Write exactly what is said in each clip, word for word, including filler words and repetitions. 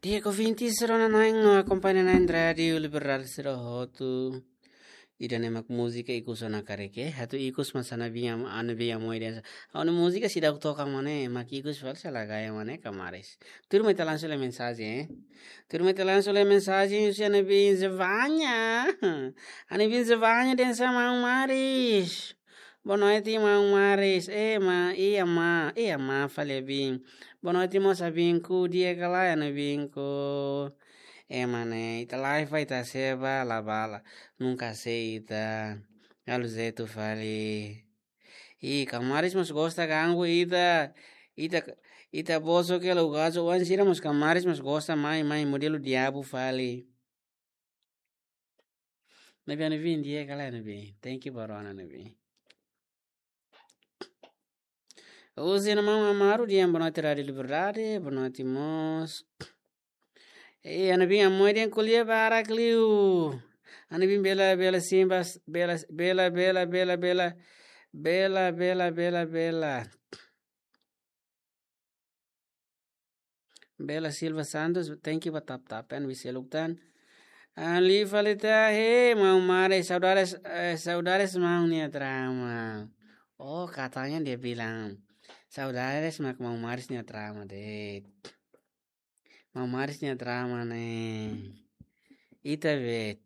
Di'ak, ouvintes sira-nia, no akompaña na'in Rádiu Liberdade sira hotu. Ida-ne'e mak múzika ikus ona kareke. Atu ikus mak hanesan ami-nia, ami-nia amoi dehan sa. Ha'u-nia múzika seidauk toka mak ne'e, mak ikus fali sala gaya mak ne'e, kamaris. Tuirmai ita langsung lee mensajen, eh. Tuirmai ita langsung lee mensajen husi ami-nia Zevanya. Ami-nia Zevanya dehan sa, maun Maris. Boa noite, maun Maris. Ema, iha ema, iha ema fali, abin. Boa noite, mós abinku, di'ak ka lae, abinku. Ema ne'e, ita live ita sei bala bala. Nunka sei ita. Halo jeitu fali. Ih, kamaris mós gosta ganggu ita. Ita, ita bosok hela, ugazo oan sira mós kamaris mós gosta mai, mai modelu diabu fali. Ne'ebé ami-nia abin di'ak ka lae, ami-nia abin. Thank you, barona, ami-nia abin. Husi ami-nia maun Amaru dehan boa noite Rádiu Liberdade, boa noite mós. Eh, ami-nia abin amoi dehan ko'alia barak liu. Ami-nia abin bela, bela simbas, bela, bela, bela, bela, bela. Bela, bela, bela, bela. Bela Silva Santos, thank you ba tap-tap, eh, ami seluk tan. Ah, liu fali ita, he, maun Maris, saudades, eh, saudades maun nia drama. Oh, katanya dia bilang, saudades mak maun Maris nia drama, de'it. Maun Maris nia drama ne'e. Ita be,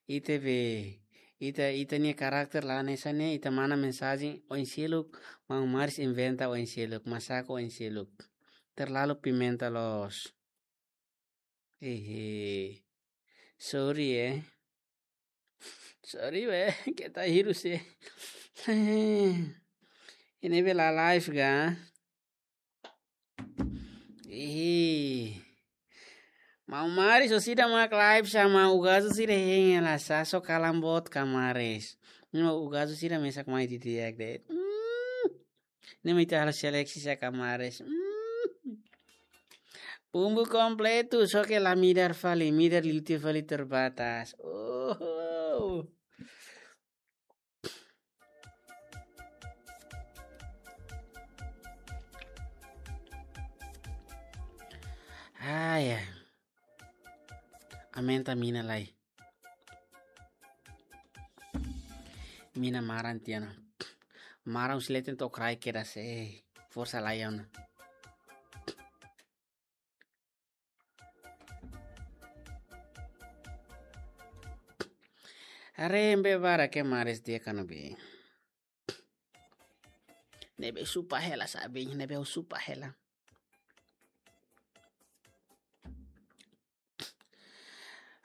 ita be, ita, ita-nia karakter la hanesan ne'e, ita manda mensajen oin seluk, maun Maris inventa oin seluk, masaku oin seluk. Terlalu pimenta loos. Hehe. Sorry, eh. Sorry, be, keta hirus, eh. Ne'ebé la live ka? Ih. Maun Maris, orsida mak live sa, maun, ugazo sira hein hela sa, só kalan boot kamaris. No ugazo sira mesak mai didi'ak de'it. Hmm. Ne'e mak ita halo seleksi sa kamaris. Hmm. Bumbu kompletu, só ke la midar fali, midar liu tiha fali terbatas. Oh. Ah, ya. Aumenta mina lai. Mina maran tiha ona. Maran husi leten to'o kraik kedas, eh. Forsa lai ona. Haree ne'ebé barak ke maris dia kanu bi. Ne'ebé supa hela sabi, ne'ebé supa hela.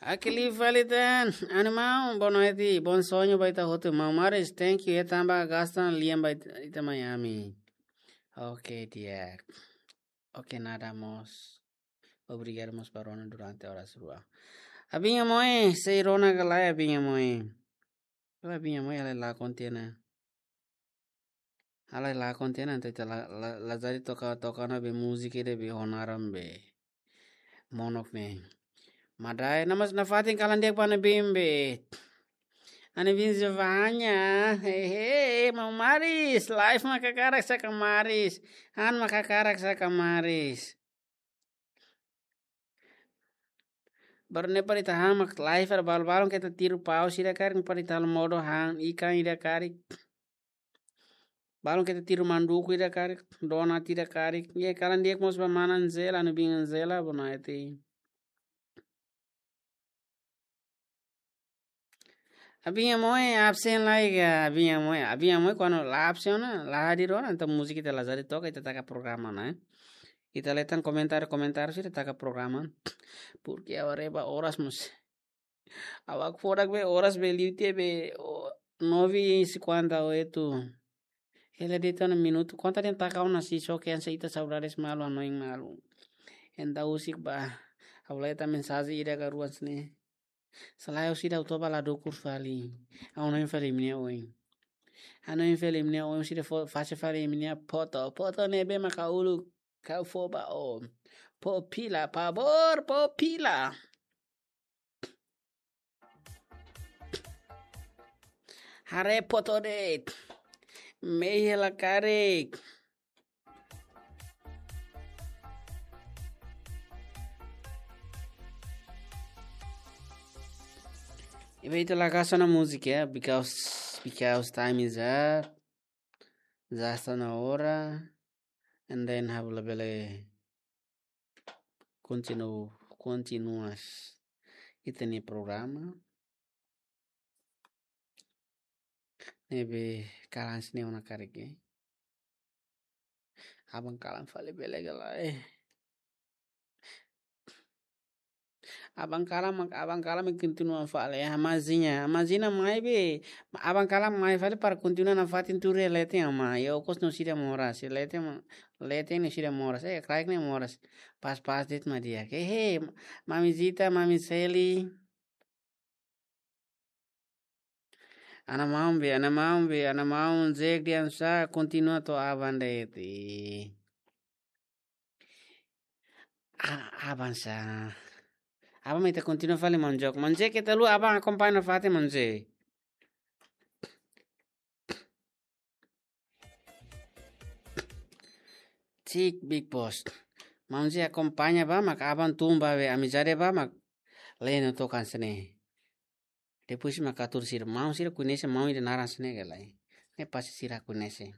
Akili Valitan, animal, boa noite, bom sonho ba ita hotu, maun Maris, thank you, e tamba gasta lian ba ita, ita Miami. Oke, di'ak. Oke, nada mós. Obrigadu mós ba rona durante oras rua. Abin amoi, sei rona ka lae, abin amoi. Abin amoi, ha'u la konta ona. Ha'u la konta ona, entaun ita la, la, lazari toka, toka ona be múzika ida be honaran be. Monok ne'e. Madai, namas nafatin kalan di'ak ba ami-nia bin be. Ami-nia bin Zevanya, hehe, maun Maris, live mak hakarak sa kamaris. Han mak hakarak sa kamaris. Baru ne'e para ita han mak live, para balun-balun keta tiru pau sira karik, para ita halo modo han ikan ida karik. Balun keta tiru manduku ida karik, donat ida karik. Ye, kalan di'ak mós ba mana Anzela, ami-nia bin Anzela, boa noite. Abin amoi absen lai ka, abin amoi, abin amoi kuandu la absen ona, la hadir ona, entaun múzika ita lazari toka, ita taka programa ona, eh. Ita lee tan komentáriu, komentáriu sira, ita taka programa. Porque agora ba oras mós. Ha'u hakfodak be oras be liu tiha be, o, nove e cinquenta e oito. Hela de'it ona minutu. Konta dehan taka ona si só ke ansa ita saudades malu, hanoin malu. Entaun husik ba. Ha'u lee tan mensajen ida ka rua hanesan ne'e. Selae orsida ha'u toba la dukur fali. Ha'u hanoin fali imi-nia oin. Hanoin fali imi-nia oin, orsida fó, fase fali imi-nia foto. Foto ne'ebé mak ha'u uluk. Ha'u fó ba ó. Fó fila, favór, fó fila. Haree foto de'it. Mehi hela karik. Ne'ebé ita la gasta ona múzika, because, because time is up. Já está na hora. And then ha'u labele kontinu-, kontinua ita-nia programa. Ne'ebé kalan sira-ne'e ona karik, eh. Aban kalan fali bele ka lae. Aban kalan mak, aban kalan mak kontinua fali, eh, Ama Zina. Ama Zina mai be. Aban kalan mai fali para kontinua nafatin tuur iha leten, Ama. Iha okos no sira moras. Leten ma-, leten no sira moras. Eh, kraik ne'e moras. Pas-pas de'it mak di'ak. He, he, Mami Zita, Mami Seli. Ana maun be, ana maun be, ana maun Zek dian sa kontinua to'o aban de'it. Ah, aban sa. Aban mak ita kontinua fali maun Zek. Maun Zek, keta haluha aban akompaña nafatin maun Zek. Cik Big Boss. Maun Zek akompaña ba, mak aban tun ba be, amizade ba, mak leno tokan sira-ne'e. Depois mak atur sira, maun sira koñese maun ida naran sira-ne'e ka lae. Ne'e pasti sira koñese.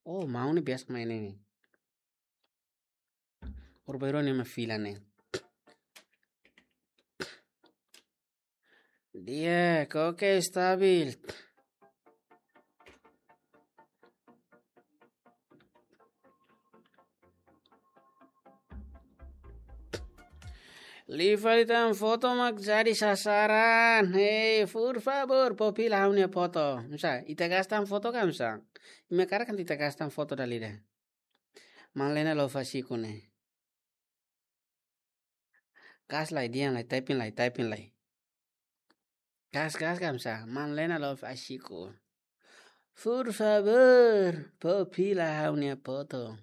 Oh, maun ne'e biasa mai ne'e. Urbairone ma fila ne'e. Di'ak, oke, stabil. Liu fali tan foto mak jadi sasaran. Hei, por favor, pó fila ha'u-nia foto. Misa, ita gasta tan foto ka misa? Imi hakarak ita gasta tan foto dala ida. Maun Lena Love Asiko ne'e. Gas lai, dehan lai, typing lai, typing lai. Gas, gas, kamsa. Maun Lena Love Asiko. Por favor, pó fila ha'u-nia foto.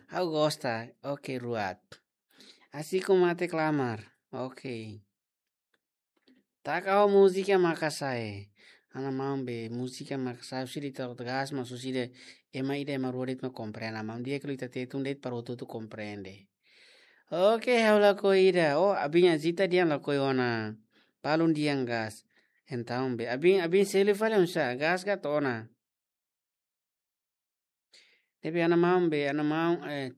Ha'u gosta. Oke, ruat. Asiko mate klamar. Oke. Taka ho múzika maka'as ai. Ana maun be, múzika maka'as ai, husi ita atu gas, mas husi ema ida ema rua de'it mak komprende. Maun di'ak liu ita Tetun de'it para hotu-hotu komprende. Oke, ha'u lakohi ida. Oh, abin Azita dehan lakohi ona. Balun dehan gas. Entaun be, abin, abin Seli fali oinsá, gas ka to'o ona. Tapi ana maun be, ana maun, eh.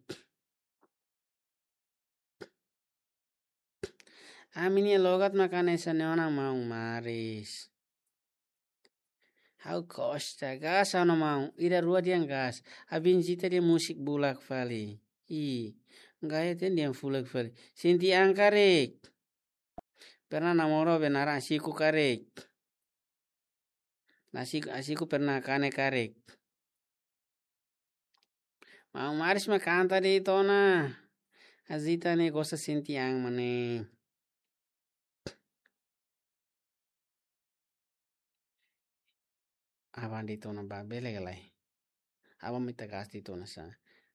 Ami-nia logat mak hanesan ne'e ona maun Maris. Ha'u gosta, gas ana maun, ida rua dehan gas. Abin Zita dehan musik bulak fali. Ih, gaya ten dehan fulak fali. Sente an karik. Pernah namora be naran Asiko karik. Asiko, Asiko pernah kanek karik. Maun Maris mak kanta de'it ona. Azita ne'e gosta sente an mak ne'e. Aban de'it ona ba bele ka lae. Aban mak ita gas de'it ona sa.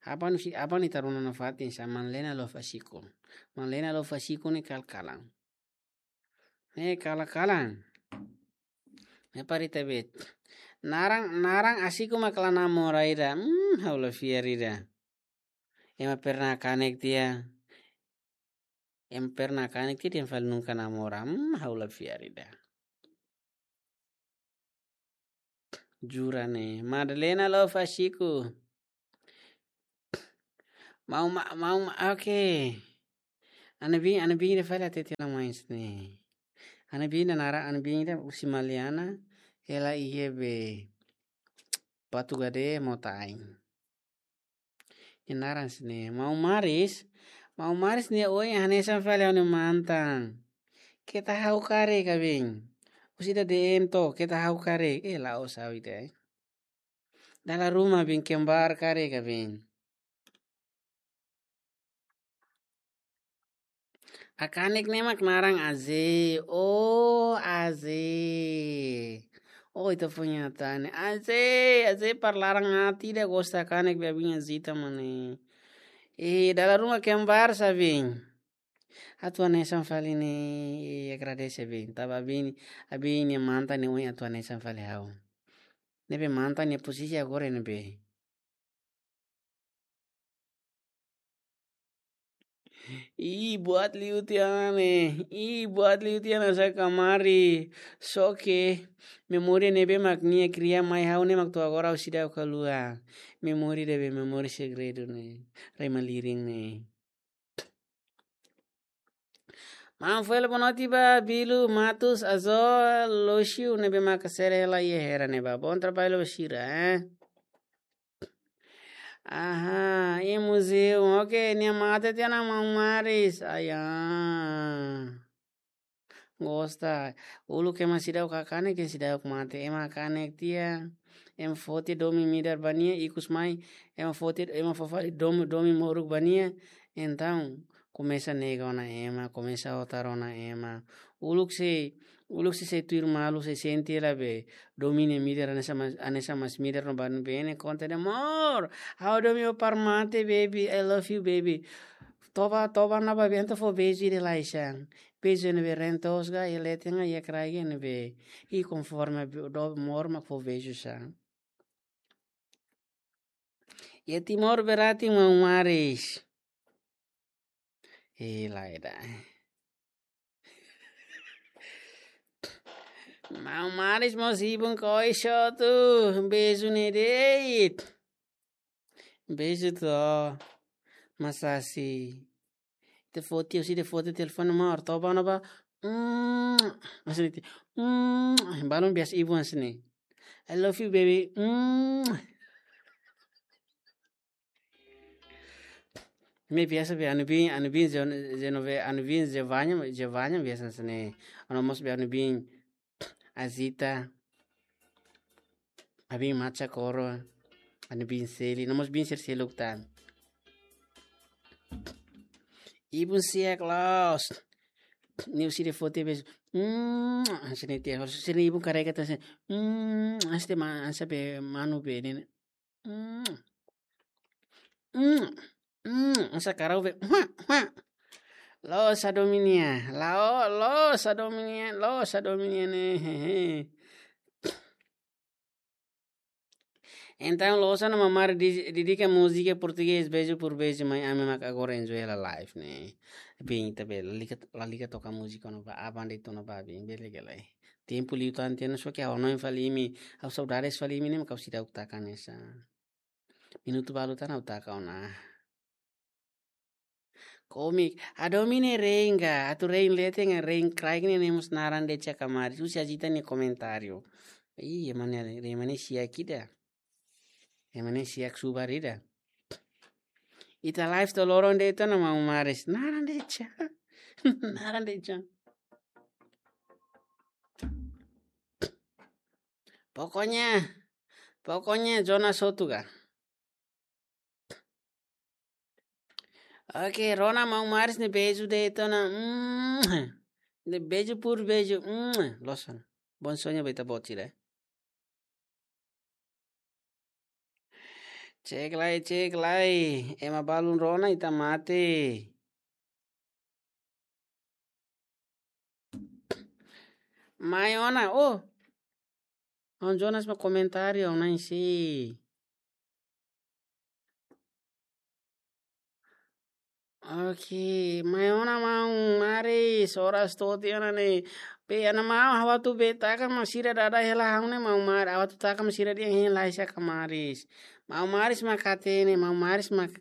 Aban husi, aban ita rona nafatin sa Maun Lena Love Asiko. Maun Lena Love Asiko ne'e kal-kalan. Ne'e kal-kalan. Ne'e para ita bet. Naran, naran Asiko mak la namora ida. Hmm, ha'u la fiar ida. Ema pernah kanek tiha. Ema pernah kanek tiha dehan fali nunka namora. Hmm, ha'u la fiar ida. Jura ne'e. Madalena Love Asiko. Maun Ma-, maun Ma-, oke. Ana bin, ana bin ida fali hatete ona mais ne'e. Ana bin ida naran, ana bin ida husi Maliana. Ela iha be Patu Gade Mota Ain. Nia naran sira-ne'e. Maun Maris. Maun Maris nia oin hanesan fali ha'u-nia mantan. Keta ha'u karik abin. Husi ida dehan to'o, keta ha'u karik. Eh, la'ós ha'u ida, eh. Dala ruma abin kembar karik abin. Hakanek ne'e mak naran Aze. Oh, Aze. Oh, ita punya tane. Aze, Aze para laran hati ida gosta kanek be abin Azita mak ne'e. Eh, dala ruma kembar sa abin. Atu hanesan fali ne'e, eh, agradese abin. Tanba abin, abin nia mantan nia oin atu hanesan fali ha'u. Ne'ebé mantan nia posisi agora ne'ebé. Ih, buat liu tiha ona ne'e. Ih, buat liu tiha ona sá kamari. Só ke memória ne'ebé mak nia kria mai ha'u ne'e mak to'o agora ha'u seidauk haluha. Memória ida be memória segredu ne'e. Rai malirin ne'e. Maun Fela, boa noite ba Bilu Matos Azor Lócio ne'ebé maka sere hela iha hera ne'ebá. Bom trabalho ba sira, eh? Aha, iha muzeu. Oke, nia mate tiha ona maun Maris. Aya. Gosta. Uluk ema seidauk kanek, ema seidauk mate. Ema kanek tiha. Ema foti domin midar ba nia, ikus mai. Ema foti, ema fó fali domin, domin moruk ba nia. Entaun, komesa nega ona ema, komesa otar ona ema. Uluk sei, uluk sei, sei tuir malu, sei sente hela be. Domin ne'e midar, hanesan mas, hanesan mas midar no ba ne'ebé ne'e konta de'it: "Amor, ha'u domin ó para mate, baby. I love you, baby." Toba, toba ona ba bentu fó beizu ida lai sá. Beizu ne'ebé reen toos ka, iha leten ka, iha kraik ne'ebé. I konforme be, do mor mak fó beizu sá. Iha Timor berarti maun Maris. Eh, lae ida. Maun Maris mós ibun koiso tu. Beizu ne'e de'it. Beizu tu. Masasi. Ita foti, husi ita foti telefone, amor, toba ona ba. Mm. Hanesan ne'e. Mm. Balun biasa ibun hanesan ne'e. "I love you, baby." Mm. Ne'e biasa be anu bin, anu bin Zen-, Zenove, anu bin Zevanya, Zevanya biasa hanesan ne'e. Anu mós be anu bin Azita. Abin Macha Koro. Anu bin Seli. Nomós bin Seli seluk tan. Ibun siak los. Ne'e husi ita foti beizu. Mm, hanesan ne'e tiha. Husi ne'e ibun karega tan hanesan. Mm, hanesan ne'e ma-, hanesan be manu be ne'e. Mm. Mm. Mm. Hanesan karau be. Hua, hua. Loos hadomi nia. Lao, loos hadomi nia. Loos hadomi nia ne'e. Hehe. Entaun, loos ona maun Maris di-, dedika múzika portugés, Beijo por Beijo, mai ami mak agora enjoy hela live ne'e. Bin, ita be, lalika, lalika toka múzika ona ba, aban de'it ona ba, bin, bele gele. Tempu liu tan tiha ona, só ke ha'u hanoin fali imi, ha'u saudades fali imi ne'e, mak ha'u seidauk taka hanesan. Minutu balu tan ha'u taka ona. Komik, hadomi ne'e reen ka, atu reen leten ka, reen kraik ne'e, ne'e mós naran de'it sá kamari. Husi Azita nia komentáriu. Ih, ema ne'e, ema ne'e siak ida. Ema ne'e siak subar ida. Ita live to'o loron de'it ona maun Maris. Naran de'it sá. Naran de'it sá. Pokoknya, pokoknya Jonas Sotu ka. Oke, rona maun Maris nia beizu de'it ona. Mm. Ne'e beijo por beijo. Mm. Loos ona. Bom sonho ba ita-boot sira. Cek lai, cek lai. Ema balun rona ita mate. Mai ona, oh. Maun Jonas mak komentáriu, ha'u na'in sei. Oke, mai ona maun Maris, oras to'o tiha ona ne'e. Be, ana maun, ha'u atu be taka mak sira dada hela ha'u ne'e maun Maris, ha'u atu taka mak sira dehan hein lai sá ka Maris. Maun Maris mak hatene, maun Maris mak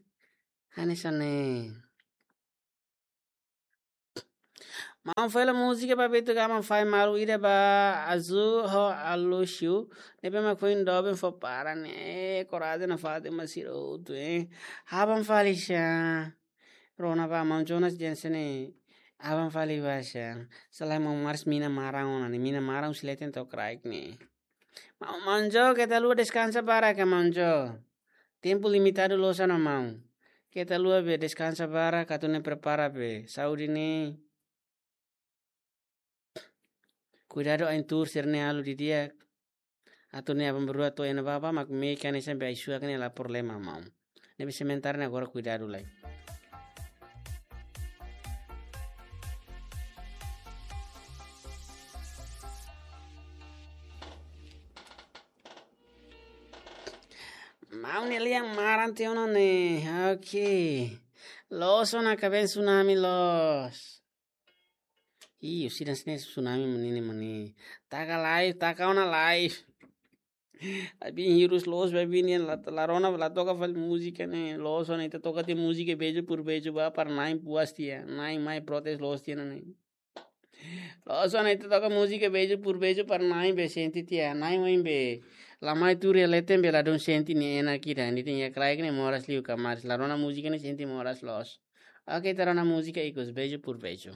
hanesan ne'e. Maun Fela, múzika ba Beto Gama fai malu ida ba Azu ho Alushu. Ne'ebé mak foin doben fó para ne'e. Korajen nafatin ba sira hotu, eh. Aban fali sá. Rona ba maun Jonas Jensen ne'e. Aban fali ba sá. Selae maun Maris mina maran ona ne'e. Mina maran husi leten to'o kraik ne'e. Maun, maun Jo, keta haluha deskansa barak ka maun Jo. Tempu limitadu loos ona maun. Keta haluha be deskansa barak, atu nune'e prepara be saúde ne'e. Kuidadu ain tuur sira-ne'e halo didi'ak. Atu nune'e aban-bainrua to'o iha ne'ebá, mak mehi ka hanesan be ai-suak ne'e la problema maun. Ne'ebé sementara ne'e agora kuidadu lai. Maun nia lian maran tiha ona ne'e. Oke. Loos ona kaben tsunami loos. Ih, husi dan sini tsunami menini meni. Taka live, taka ona live. Abi hirus loos, abi nian la, la rona, la toka fali múzika ne'e. Loos ona ita toka tiha múzika beijo por beijo ba para na'in puas tiha. Na'in mai protes loos tiha ona ne'e. Loos ona ita toka múzika beijo por beijo para na'in be sente tiha. Na'in oin be la mai tuur iha leten be ladún sente nia enak ida. Nia tenke iha kraik ne'e moras liu kamaris. La rona múzika ne'e sente moras loos. Oke, ita rona múzika ikus, beijo por beijo.